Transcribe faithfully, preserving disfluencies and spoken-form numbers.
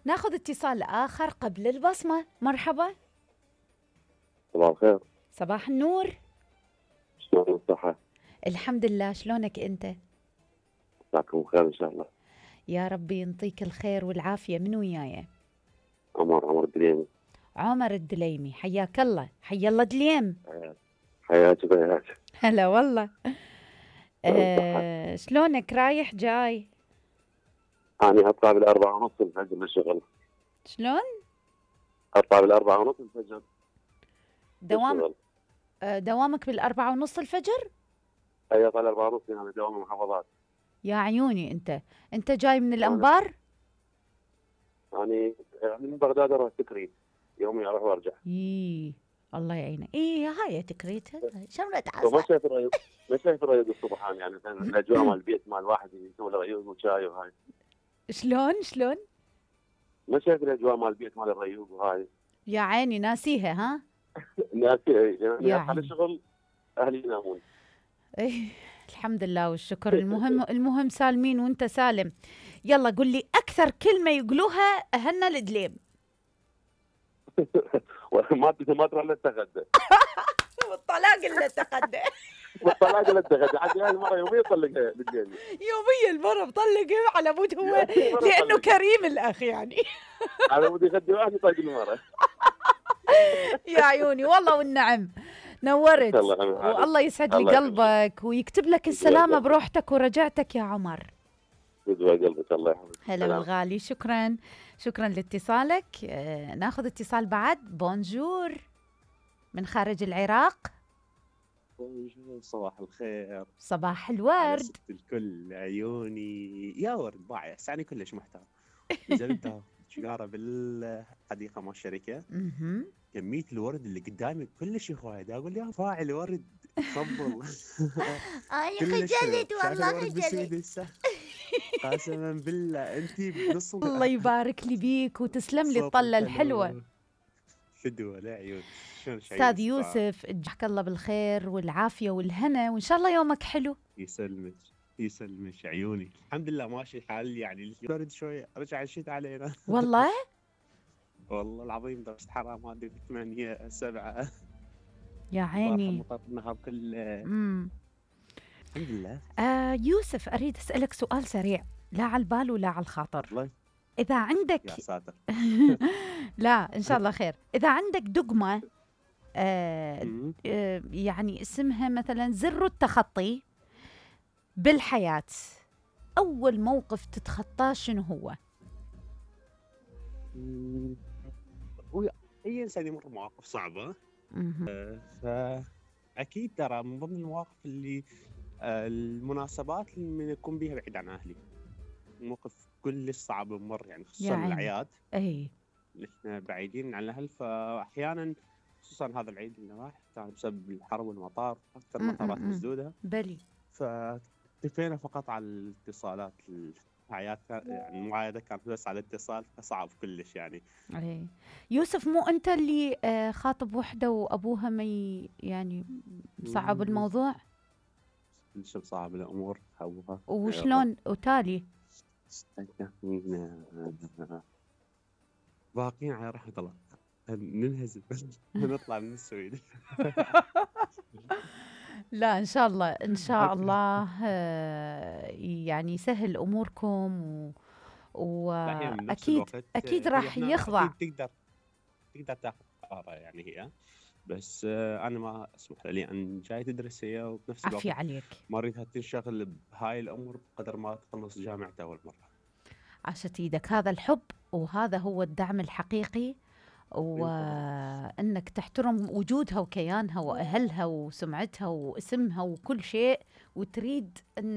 ناخذ اتصال آخر قبل البصمة. مرحبا. صباح الخير. صباح النور. شلون الصحة؟ الحمد لله، شلونك أنت؟ مساكم خير إن شاء الله. يا ربي ينطيك الخير والعافية. من وياي؟ عمر عمر الدليمي. عمر الدليمي، حياك الله. حيا الله دليم. حياتي بياتي. هلا والله. آه شلونك؟ رايح جاي؟ أنا أطلع بالأربعة ونص الفجر للشغل. شلون؟ أطلع بالأربعة ونص الفجر. دوام للشغل. آه دوامك بالأربعة ونص الفجر؟ أي أطلع الأربعة ونص، أنا دوام المحافظات. يا عيوني. أنت أنت جاي من الأنبار؟ يعني يعني من بغداد أروح تكريت، يومي أروح وأرجع. إيه الله يعينه. إيه هاي تكريت شملة وما عسل. شايف الريوق، ما شايف الريوق الصبح يعني مثلا الأجواء مال البيت مال الواحد يسوي له ريوق وشاي وهاي. شلون شلون؟ ما شايف الأجواء مال البيت مال الريوق وهاي. يا عيني ناسيها ها؟ ناسي يعني يا أصحى عيني. للشغل أهلي ينامون. إيه الحمد لله والشكر. المهم المهم سالمين وانت سالم. يلا قل لي اكثر كلمه يقولوها اهلنا الدليم. ما ما تروح للتغدى. والطلاق اللي تقدم. والطلاق للتغدى عاد هاي المره يوميا يطلقها بالجيل. يوميا المره مطلقه على مود هو لانه كريم الاخ يعني. على مود يغدي واحد يطلق المره. يا عيوني والله والنعم. نورت والله يسعد لي قلبك ويكتب لك السلامه بروحتك ورجعتك يا عمر. يسعد قلبك الله يحفظك. هلا بالغالي. شكرا شكرا لاتصالك. آه ناخذ اتصال بعد. بونجور من خارج العراق. بونجور صباح الخير. صباح الورد. ست الكل عيوني يا ورد باعي سعني كلش محتار. نزلت شجاره بالحديقه مال الشركه. كميه الورد اللي قدامي كلش هوايه، اقول يا فاعل ورد صبر. اي خجلت والله خجلت. قسما بالله انت بنص. الله يبارك لي بيك وتسلم لي الطله الحلوه. فدوه لا عيون. استاذ يوسف اجزاك الله بالخير والعافيه والهنا وان شاء الله يومك حلو. يسلمك يسلمك عيوني. الحمد لله ماشي الحال يعني. برد شويه رجع الشتاء علينا. والله والله العظيم درجة حرارة ما ادري ثمانية سبعة. يا عيني. مطر النهار كله. امم الحمد لله. آه يوسف اريد اسالك سؤال سريع، لا على البال ولا على الخاطر. الله. اذا عندك يا ساتر. لا ان شاء الله خير. اذا عندك دقمه آه آه يعني اسمها مثلا زر التخطي بالحياه، اول موقف تتخطاه شنو هو؟ اي انسان يمر بمواقف صعبه. آه فاكيد ترى من ضمن المواقف اللي آه المناسبات اللي يكون بيها بعيد عن اهلي. موقف كلش صعب بمر يعني خصوصا الاعياد. اي احنا بعيدين عن الاهل، فاحيانا خصوصا هذا العيد اللي راح كان بسبب الحر والمطار اكثر مطارات مسدوده. بلي. فاكتفينا فقط على الاتصالات. الحياة يعني المعايدة كانت بس على الاتصال فصعب كلش يعني. اي يوسف مو انت اللي آه خاطب وحده وابوها ما يعني صعب الموضوع؟ كلش صعب الامور ابوها. وشلون وتالي؟ باقيين على رحمة الله. ننهزم نطلع من السويد. لا ان شاء الله ان شاء الله يعني يسهل اموركم و... واكيد اكيد راح يخضع. تقدر تقدر تاخذ قرار يعني هي، بس انا ما اسمح لي ان جاي تدرس هي وبنفس الوقت عافية عليك. ما اريدها تنشغل بهاي الامور بقدر ما تخلص جامعتها اول مره. عاشت ايدك. هذا الحب وهذا هو الدعم الحقيقي، وانك تحترم وجودها وكيانها واهلها وسمعتها واسمها وكل شيء، وتريد ان